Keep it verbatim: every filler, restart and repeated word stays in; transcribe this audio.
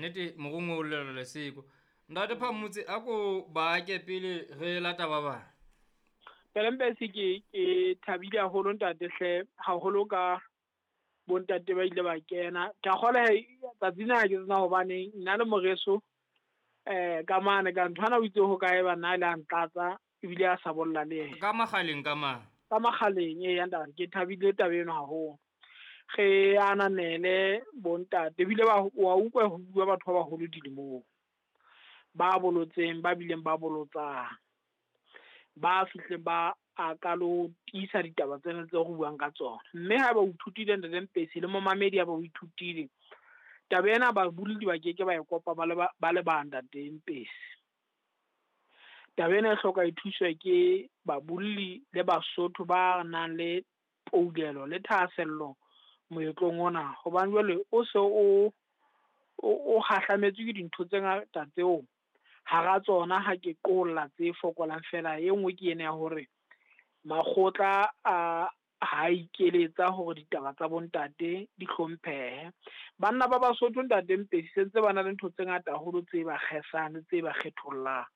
Nnete morongwe o llela leseko. Ntate Phamotse a ko ba ke pele re lata ba bang. Pelempesi ke ke thabile haholo ntate hle haholo ka bontate ba ile ba kena. Ke a kgolwa he tsatsi lena ke tsena hobane nna le moreso eh ka mane ka nthwana o itse ho kae banna le a ntlatsa ebile a sa bolla le yena. Ka makgaleng ka mane. Ka makgaleng ee ntate ke thabile taba eno haholo. Re ananele bontate ebile ba wa utlwa ho bua batho ba baholo dilemong. Ba bolotseng ba bileng ba bolotsang. Ba fihleng ba a ka lo tiisa ditaba tsena tse re buang ka tsona. Mme ha eba o ithutile ntate Mpesi le momamedi ha eba o ithutile, taba ena babolli ba keke ba e kopa ba le ba, ba le bang ntate Mpesi. Taba ena e hloka e thuswe ke babolli le Basotho ba nang le poulelo le thahasello moetlong ona. Hobane jwale o se o, o, o kgahlametswe ke dintho tse ngata tseo hara tsona ha ke qolla tse fokolang fela. E nngwe ke ena ya hore makgotla a ha ikeletsa hore ditaba tsa bontate di hlomphehe. Banna ba Basotho ntate Mpesi sentse ba na le ntho tse ngata haholo tse ba kgesang le tse ba kgethollang.